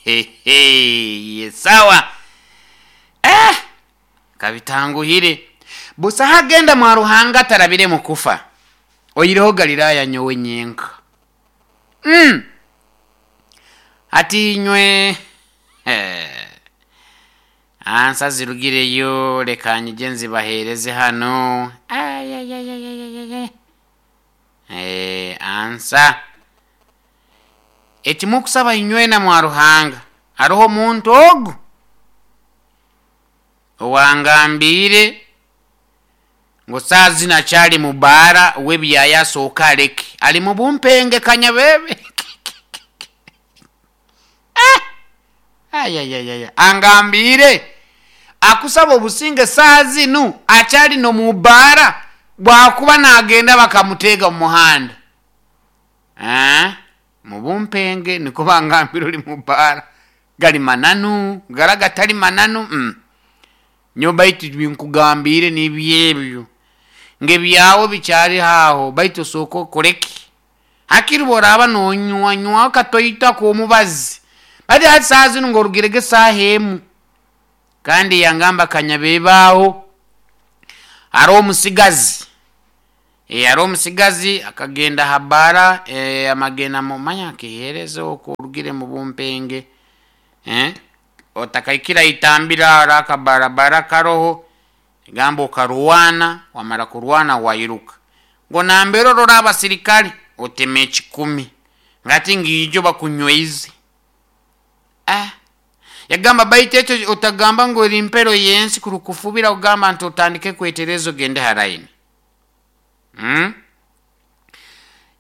Hehe, sawa. Eh, kabitanguhire. Busaho agenda mwa Ruhanga atarabire mu kufa, oihireho Galiraaya nyowe nyenka. Hati inywe, ansa zirugireyo, leka nyije nzibaheereze hanu. Ayayayayayaya. Ansa eki mukusaba inywena mwa Ruhanga, haroho omuntu ogu owangambiire ngu saaha zinu akyali mu baara w'ebyaya, asooka aleke ali mu bumpenge kanyabebe. Ayayayaya, angambiire akusaba obusinge saaha zinu akyali n'omu baara, bwakuba nagenda bakamuteega mu muhanda. Mu bumpenge niko bangambire oli mu baara. Gali mananu gara gatali mananu. Nyowe baitu binkugambiire nibyo ebyo, ngebyawe bikyali aho, baitu osooka okoreki hakiri bworaaba nonywa nywaho katoito omubazi, bati hati saaha zinu ng'orugirege esaaha emu. Kandi yangamba kanyabebaaho haroho omusigazi, haroho omusigazi akagenda ha baara, amagenda mumanya akiheereza okwo orugire mu bumpenge, otakaikire haitambiro aho akabarabara karoho, gamba okarwana, wamara kurwana wairuka, ngu nambere orora abasirikale otema 10, ngati ngiijo bakunyweize. Yagamba baitu ekyo otagamba ngu eri mpero y'ensi kurukufubira kugamba nti otandike kwetereza ogende ha line.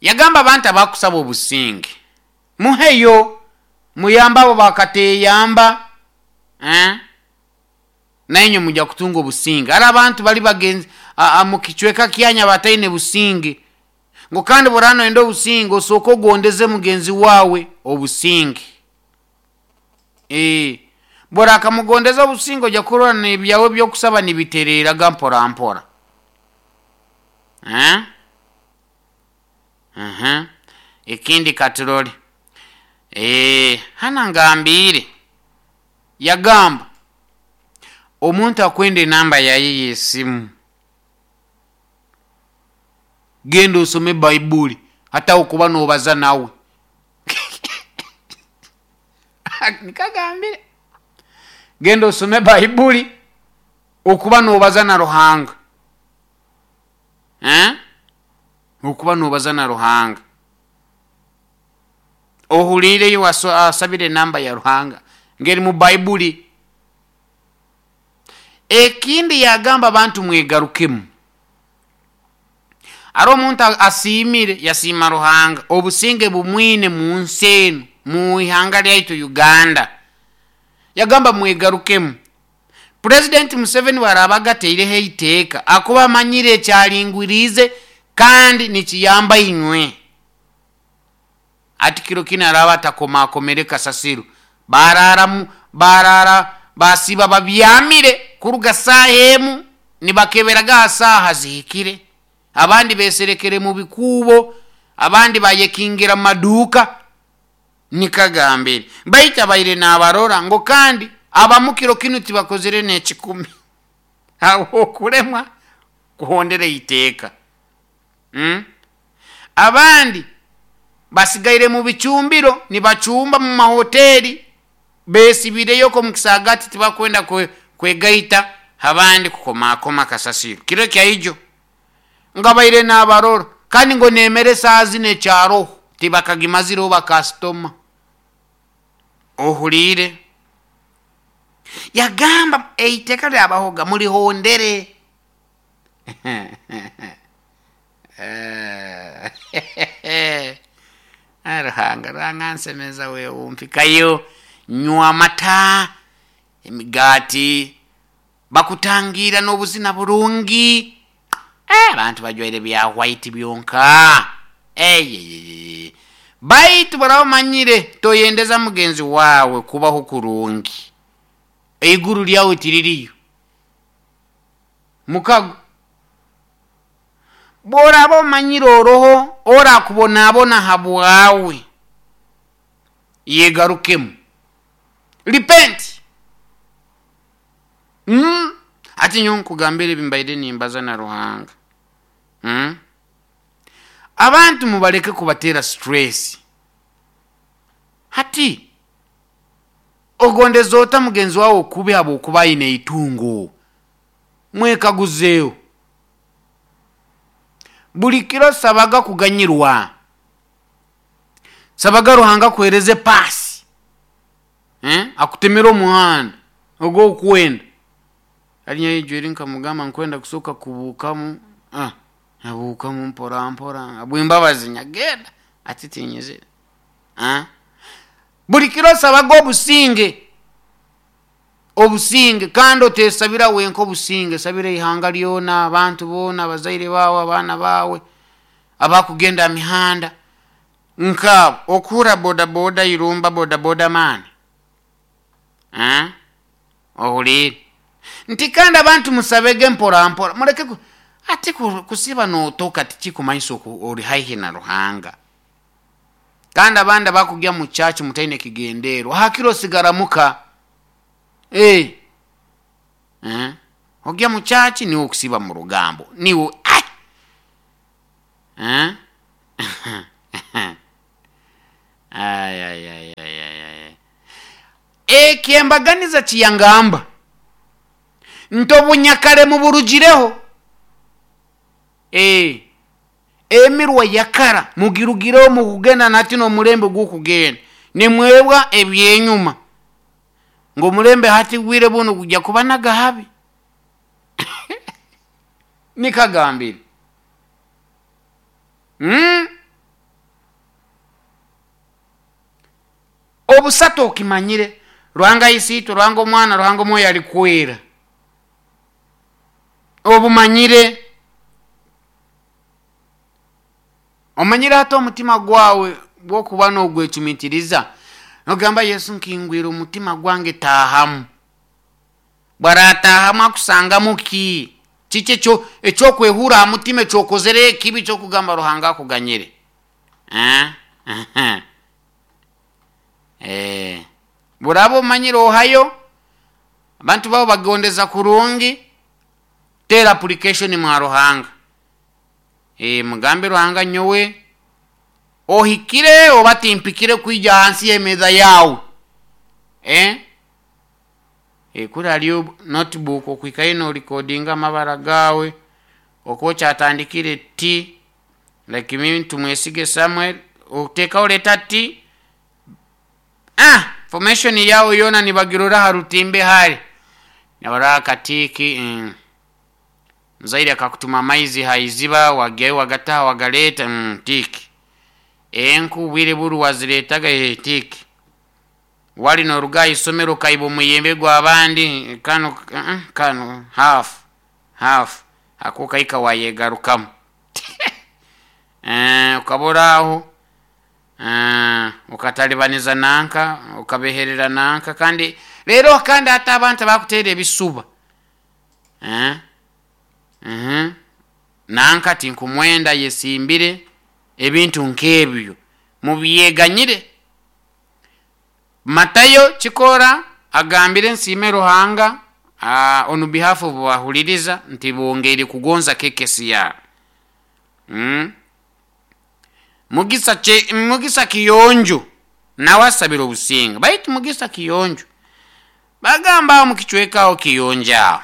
Yagamba abantu abakusaba obusinge muheyo, muyambe abo bakateyamba, nainywe mujja kutunga obusinge. Hali abantu bali bagenzi mu kicweka kyanya bataine businge, ngu kandi bworaba noyenda obusinge osooke ogondeze mugenzi wawe obusinge. Bworakamugondeza obusinge ojja kurora n'ebyawe ebyokusaba nibitereraga mpora mpora. Ekindi katurole. Hana ngambiire yagamba omuntu akwenda enamba yaye y'esimu, genda osome Baibuli hataho kuba nobaza nawe. Nikagambire genda osome Baibuli okuba nobaza na Ruhanga. Okuba nobaza na Ruhanga. Ohuliireyo asabire enamba ya Ruhanga ngeri mu Baibuli. Ekindi yagamba abantu mwegarukemu. Hariho omuntu asiimire, yasiima Ruhanga obusinge bumwine mu nsi enu, mu ihanga lyaitu Uganda. Yagamba mwegarukemu. President Museveni bwaraba agateireho eiteeka akuba amanyire ekyalingwiriize kandi nikiyamba inywe. Ati kiro kinu araba atakomakomere kasasiro, barara basiiba babyamire kuruga saaha emu nibakeberaga ha saaha zihikire, abandi beserekere mu bikuubo, abandi bayekingira mu maduuka. Nikagambire baitu abaire nabarora ngu kandi abamu kiro kinu tibakozere n'ekikumi habw'okulemwa kuhondera eiteeka. Abandi basigaire mu bicumbiro nibacumba mu mahoteri, besibireyo okwo mu kisaagati, tibakwenda kwegaita abandi kukomakoma kasasiro kiro kyaijo. Ngabaire nabarora kandi ngo nemere saaha zinu ekyaroho tibakagimazireho bakasitoma. Ohuliire yagamba eiteeka lyabahoga mulihondere. Ruhanga Ruhanga nsemeza wewumpikayo, nywa amata, emigaati, bakutangira n'obuzina burungi. Abantu bajwaire bya white byonka. Baitu baraba omanyire toyendeza mugenzi wawe kubaho kurungi, eiguru lyawe tiririyo mukago. Bworaba omanyire oroho orakubonabona habwawe, yegarukemu. Repent. Ati nyowe nkugambira ebi mbaire nimbaza na Ruhanga. Abantu mubaleke kubatera stress. Hati ogondeza ota mugenzi wawe okubi habwokuba aine itungo? Mwekaguzeeho. Buli kiro sabaga kuganyirwa, sabaga Ruhanga akuhereze paasi, akutemere omuhanda ogw'okwenda. Hati nyowe ijweri nkamugamba nkwenda kusooka kubuukamu, nabuukamu mpora mpora habw'embabazi nyagenda ati tinyizire. Buli kiro sabaga obusinge, obusinge, kandi otesabira wenka obusinge, sabira ihanga lyona, abantu boona, abazaire baawe, abaana baawe abakugenda aha mihanda nkaabo. Okuhurra bodaboda irumba bodaboda maani, ohuliire nti kandi abantu musabege mpora mpora, muleke ati kusiba notoka tikikumanyisa ori haihi na Ruhanga. Kandi abandi abakugya mu church mutaine kigenderwa, hakiro osigara muka. Ogya mu church niwe okusiba mu rugambo, niwe Ekyembaganiza kiyangamba nti obunyakare muburugireho, emirwa yakara mugirugireho mukugenda nati n'omulembe gw'okugenda nimwebwa ebyenyuma ngu omulembe hati gwire bunu gujja kuba nagahabi. Nikagambire. Obusatu okimanyire, Ruhanga Isiitwe, Ruhanga Omwana, Ruhanga Omwoyo Alikwera. Obumanyire. Omanyire hati omutima gwawe bwokuba nogwecumitiriza, nogamba Yesu nkingwire omutima gwange taahamu. Bwarataahamu akusangamu ki? Kiki ekyokwehura aha mutima ekyokozere ekibi kyokugamba Ruhanga akuganyire? Buraba omanyire ohayo, abantu bawe bagondeza kurungi, tera application mwa Ruhanga. Mugambe Ruhanga nyowe ohikire oba timpikire kwija hansi y'emeeza yawe. Kuri hariyo notebook okwikayo norikodinga amabara gawe okuba okyatandikire T, like me Tumwesige Samuel, otekaho letter T, formation yawe yoona nibagirora aha rutimbe hari. Nibarora akatiiki, muzaire akakutuma amaizi ha iziba wagyayo wagataha wagaleeta, tiiki. Enku obwire buru waziretaga, tiiki. Wali noruga aha isomero okaiba omuyembe gw'abandi, kanu kanu half half ako okahika wayegarukamu. Okaba aho okatalibaniza nanka, okabeherera nanka, kandi rero kandi hati abantu bakutera ebisuba. Nanka tinkumwenda yesimbire ebintu nk'ebyo mubyeganyire. Matayo Kikora agambire nsiime Ruhanga on behalf of bahuliriza nti bongeire kugonza KKCR. Mugisa Kiyonjo nawe asabire obusinge, baitu Mugisa Kiyonjo bagamba aho mukicweka aho Kiyonjo aho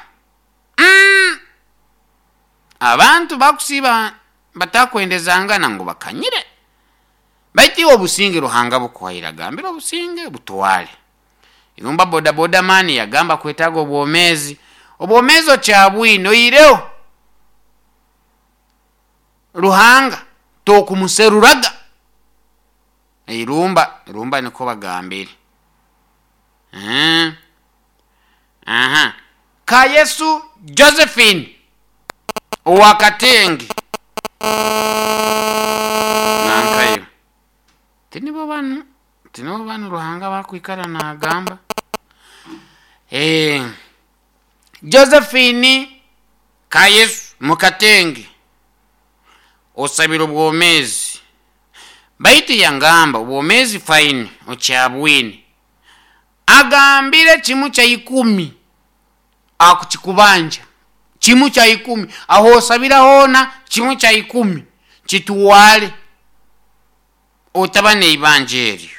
abantu bakusiba batakwendezangana ngu bakanyire, baitu iwe obusinge Ruhanga bukuhaire agambire obusinge butwale. Irumba bodaboda mani yagamba kwetaga obwomezi, obwomezi okyabwine oireho Ruhanga tokumuseruraga. Irumba irumba niko bagambire. Ka Yesu Josephine owakatenge nankayo tinibo banu tinibo banu Ruhanga bakwikara nagamba. Josephine ka Yesu mukatenge osabire obwomezi, baitu yangamba obwomezi fine okyabwine. Agambire kimu kya ikumi akukikubanja, kimu kya ikumi aho osabira hoona, kimu kya ikumi kituwale, otaba neibanja eryo.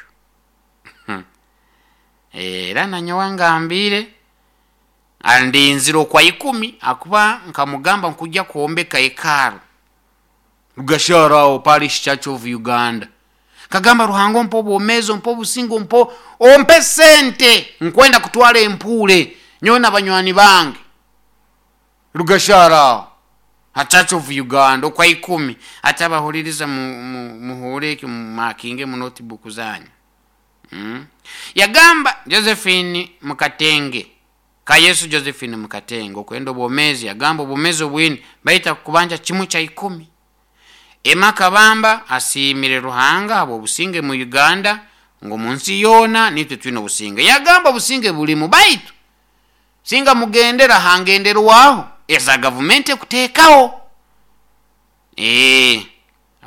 Era nanyowe ngambire andinzire okwa ikumi, akuba nkamugamba nkujja kwombeka hekalu Rugashara aho Parish Church of Uganda. Kagamba Ruhanga ompe obwomeezi, ompe obusinge, ompe sente nkwenda kutwara empuure nyowe na banywani bange Rugashara aho ha Church of Uganda okwa ikumi. Ati abahuliriza muhure eki, mumakinge mu notebook zanyu. Yagamba Josephine Mukatenge ka Yesu Josephine Mukatenge okwenda obwomeezi, yagamba obwomeezi obwini baita kubanja kimu kya ikumi. Emma Kabamba asiimire Ruhanga habw'obusinge mu Uganda, ngu mu nsi yoona nitwe twine obusinge. Yagamba obusinge bulimu, baitu singa mugendera hangenderwaho eza gavumenti ekuteekaho.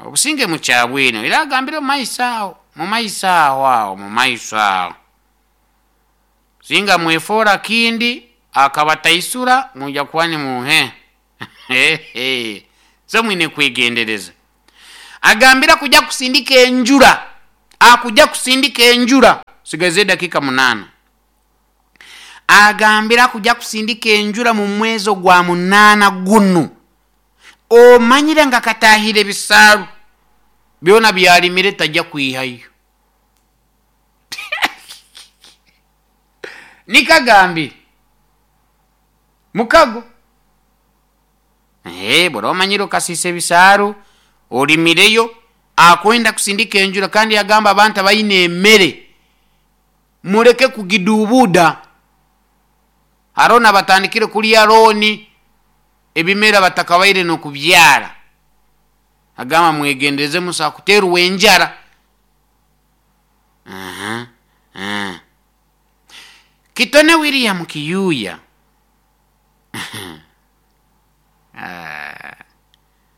Obusinge mukyabwine, era agambire mu maiso aho, mu maiso aho aho, mu maiso aho. Singa mwefoora kindi akabataisura mujja kuba nimuhe. So mwine kwegendereza. Agambira kujja kusindika enjura, akujja kusindika enjura, sigaze dakika 8. Agambira kujja kusindika enjura mu mwezi gwa 8 gunu. Omanyire nga katahire bisaaru byona byalimire tajja kwihayo. Nikagambire mukago. Bora omanyire okasisa ebisaaru olimireyo, akwenda kusindika enjura. Kandi yagamba abantu abayina emmere mureke kugidubuda. Harona batandikire kulya roni ebimera batakabaire nokubyara. Agamba mwegendereze musa kuterwa enjara. Kitone William Kiyuya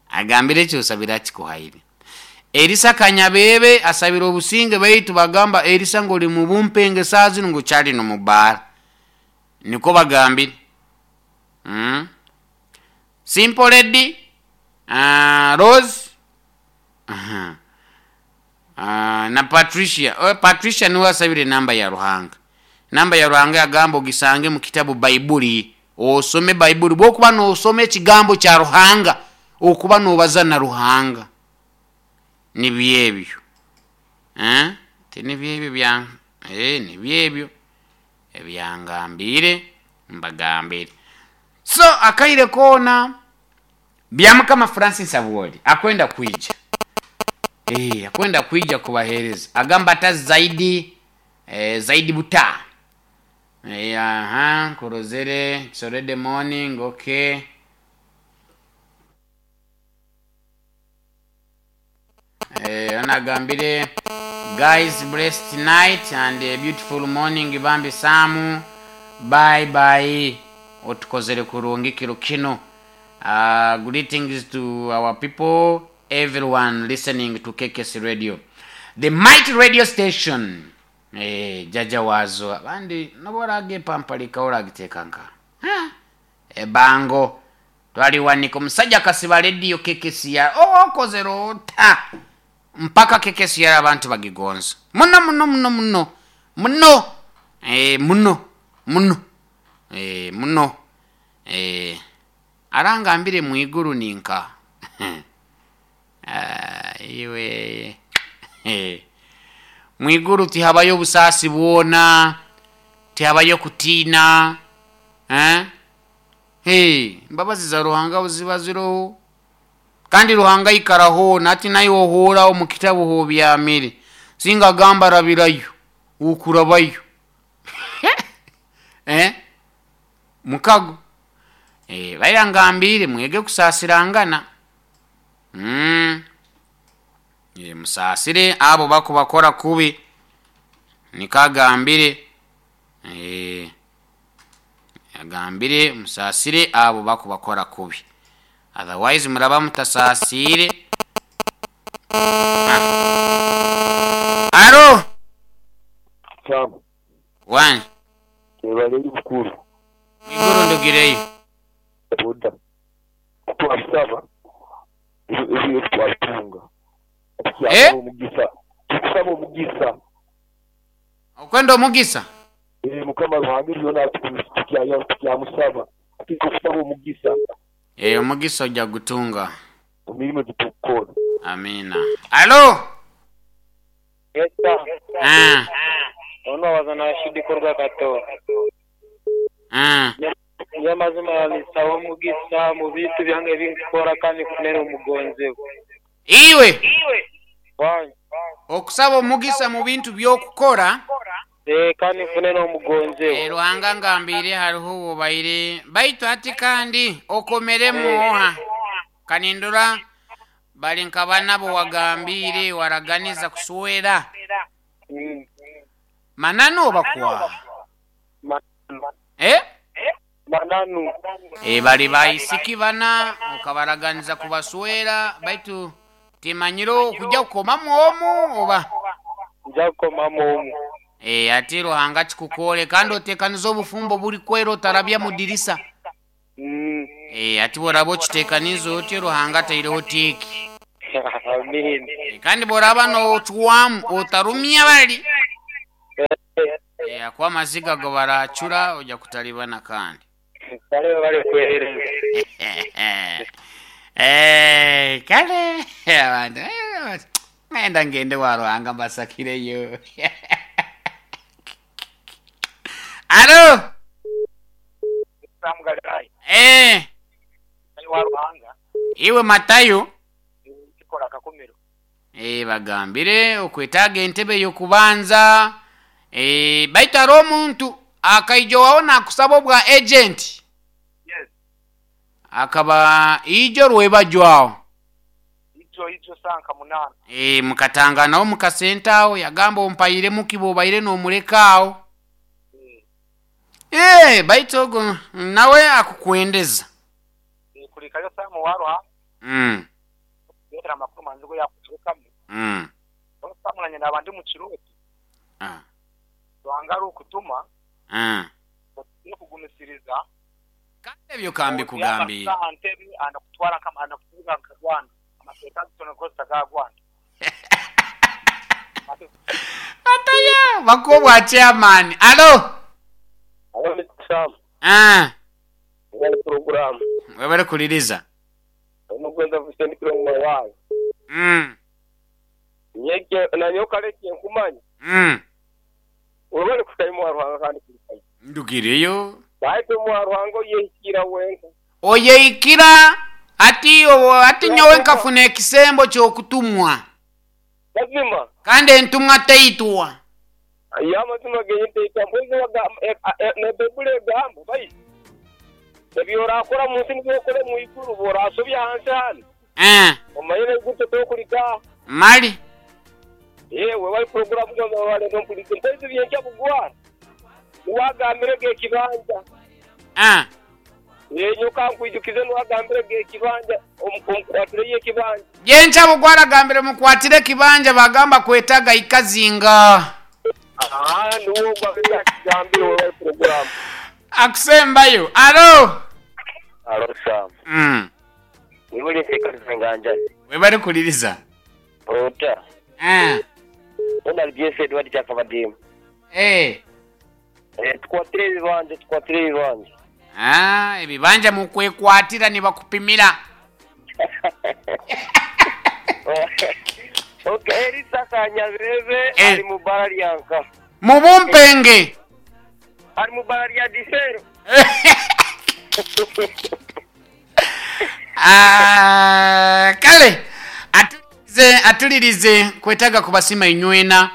agambire ekyo osabira kikuhaire. Elisa Kanyabebe asabira obusinge, baitu bagamba Elisa ngoli mu bumpenge saa zino ngu kyali no mubaara, niko bagambire. Simple Lady, Rose, na Patricia. Patricia niwe asabire namba ya Ruhanga. Namba ya Ruhanga yagamba ogisange mu kitabu Baibuli, osome Baibuli. Bwokuba nosoma ekigambo kya Ruhanga, okuba nobaza na Ruhanga. Nibyebyo. Ti nibyebyo bya, nibyebyo ebyangambire mbagambire. So akaire kona bya Mukama Francis Abwoli akwenda kwija. Akwenda kwija kubahereza. Agamba ata zaidi, zaidi buta. Aha, kurozere, it's already morning, okay. Anagambire guys, blessed night and a beautiful morning bambi Samu. Bye bye. Otukozere kurungi kiro kino. Greetings to our people, everyone listening to KKS Radio, the mighty radio station. Jaja wazo abandi noborage pampalika oragitekanka ebango twaliwanika omusajja akasiba radio KKS ya okozere ota mpaka KKS ya abantu bagigonza muno muno muno muno muno muno muno muno arangambire mwiguru ninka iwe mwiguru tihabayo obusasi bwona, tihabayo kutiina. Mbabazi za Ruhanga ziba ziroho, kandi Ruhanga ikaraho nati nayo ohora mu kitabu ho byamire singa gamba rabirayo ukurabayo. Mukago bayangambire mwege kusasirangana. Musasire abo bakubakora kubi, nikagambire agambire musasire abo bakubakora kubi, otherwise muraba mutasasire. Aro Samu. Wangi. Webale eri bukulu. Mwiguru ndugireyo. Oda. Twabisaba ebyo twabitunga. Eh? Tukusaba omugisa. Tukusaba omugisa. Okwenda omugisa? Eh, Mukama Ruhanga byona tukyamusaba. Tukusaba omugisa. Eh, omugisa ojja gutunga. Emirimo gyetukukora. Amina. Alo? Yes, sir. Ah, Ono wazana Rashidi Korwa Kato. ah. Nyamazima nisaba omugisa mu bintu byange ebinkukora kandi nfunire omugonzebwa. Iwe Wangi. okusaba omugisa mu bintu by'okukora Eh, kandi nfunire omugonzebwa. eh, Ruhanga ngambire hariho wobaire baitu ati kandi okomeremu oha kanindura bali nka bana bo wagambire waraganiza kuswera Mananu oba kwaha? Eh? Mananu. E, bali baisiki bana okabaraganiza kubaswera baitu timanyire okujja kukomamu omu oba Nja kukomamu omu. e, ati Ruhanga kikukore kandi otekaniza obufumbo buri kwera otarabya mu dirisa. E, ati bworaba okitekaniza otyo Ruhanga ataireho tiiki. Amin. E, kandi bworaba nocwamu otarumya bali e, akuba amaziga go baracura ojja kutalibana kandi. Kale bali kwehereza. Eh, kale abantu ngenda ngende wa Ruhanga mbasakireyo. Alo. Samugalirayi Eh, wa Ruhanga iwe Matayo. kikola akakomero. Eh, bagambire okwetaaga entebe y'okubanza. Eh, baitu hariho omuntu akaija wawe nakusaba obwa agent. Yes. Akaba ijo rwebajwaho. Ijo ijo sanka 8. Eh, mukatanganaho mukasente aho yagamba ompairemu kiba obaire n'omureka aho. Eh, baitu ogo nawe akukwendeza. Kulikayo Samu wa Ruhanga. Yetera amakuru manzi go yakuturukamu. Samu na nyina abandi mu kiroti. Ah. Ruhanga ari ukutuma. No kugumisiriza. Kandi ebyo kambi kugambira. Ntebe anakutwara kama anakutuga nka Rwanda. Amateka tunakosa ga Rwanda. Ataya bakobwa chairman. Alo. Alo Mr. Sam. Ah. Wali program. Webale kuliriza. Omugwenza kusendikira mu wayi. Nyeke na nyoka leke nkumanya. Webale kutayimu wa Ruhanga kandi kulikayo. Ndugireyo. Baitu mu wa Ruhanga oyehikira wenka. Oyehikira ati ati nyowe nkafuna ekisembo ky'okutumwa. Mazima. Kandi entumwa teitwa. Ya mazima genye teitwa. Mbwezi ne Baibuli egamba bai. Ebyo orakora mu nsi nibyo okore mu iguru borasobya hansi hano. Omanyire gute tokulika. Mali. Yewe wali programu gwa wale ndompulike. Mbwezi byenkya bugwa. Niwagambire ge kibanja. Yenyoka nkwijukize niwagambire ge kibanja omukwatire ye kibanja. Yencha bugwara gambire mukwatire kibanja bagamba kwetaga ikazinga. Niwo gwabira kigambire wali programu. Akusembayo. Alo. Alo Sam. Nibuli sekali nganja. Webale kuliriza. Ota. Ona BS Edward Chakabadimu. Eh. Tukwatire ebibanja, tukwatire ebibanja. Ah, ebibanja mukwekwatira nibakupimira. Okay, Elisa Kanyabebe ali mu bara lyanka. Mubumpenge. Ali mu bara lya Disero. Ah, kale atulirize kwetaga kubasima inywena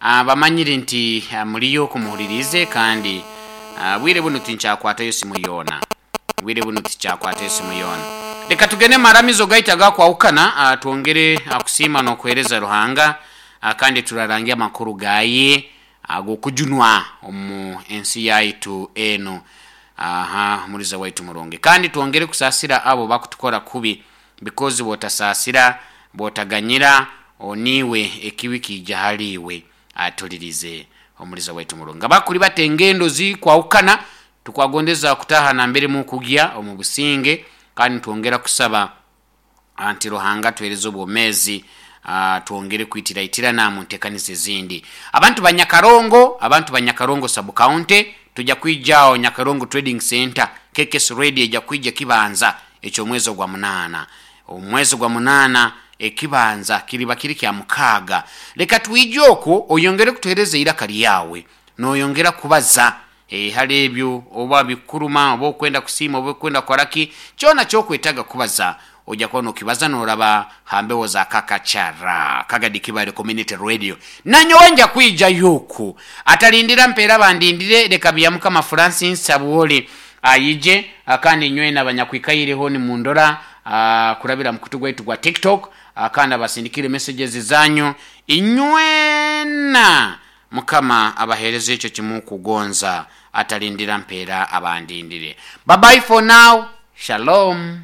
bamanyire nti muliyo kumuhulirize kandi bwire buno tinkyakwatayo simu yona. Bwire buno tinkyakwatayo simu yona. Leka tugende maramizo gaita gakwawukana twongere kusiima n'okuheereza Ruhanga kandi turarangia amakuru gaye ag'okujunwa omu ensi yaitu eno. Aha, muliza waitu muronge. Kandi twongere kusasira abo bakutukora kubi because botasasira botaganyira oniwe ekibi kijja haliwe atulirize. Omuliza waitu murungi abakuli bata engendo zikwahukana, tukwagondeza kutaha nambere mukugya omu businge, kandi twongera kusaba nti Ruhanga tuhereze obwomezi, twongere kwitiraitirana mu ntekaniza ezindi. Abantu ba Nyakarongo, abantu ba Nyakarongo sub county, tujja kwijaho Nyakarongo Trading Center, KKS Radio ejja kwija kibanza eky'omwezi ogwa munaana. Omwezi gwa munaana ekibanza kiriba kiri kya mukaaga. Leka twije okwo oyongere kutuhereza eiraka lyawe, noyongera kubaza hali ebyo oba bikuruma, oba okwenda kusiima, oba okwenda kukoraki, kyona kyokwetaga kubaza ojja kuba nokibaza noraba hambeho za Kakachara Kagadi Kibale Community Radio. Nanyowe nja kwija yuku atalindira mpera bandindire. Leka bya Mukama Francis Sabuoli ayije, kandi nywe n'abanyakwikaireho ni mundora kurabira mukutu gwaitu gwa TikTok, kandi abasindikire messages zanyu inywena. Mukama abahereze ekyo kimukugonza, atalindira mpera abandindire. Bye bye for now. Shalom.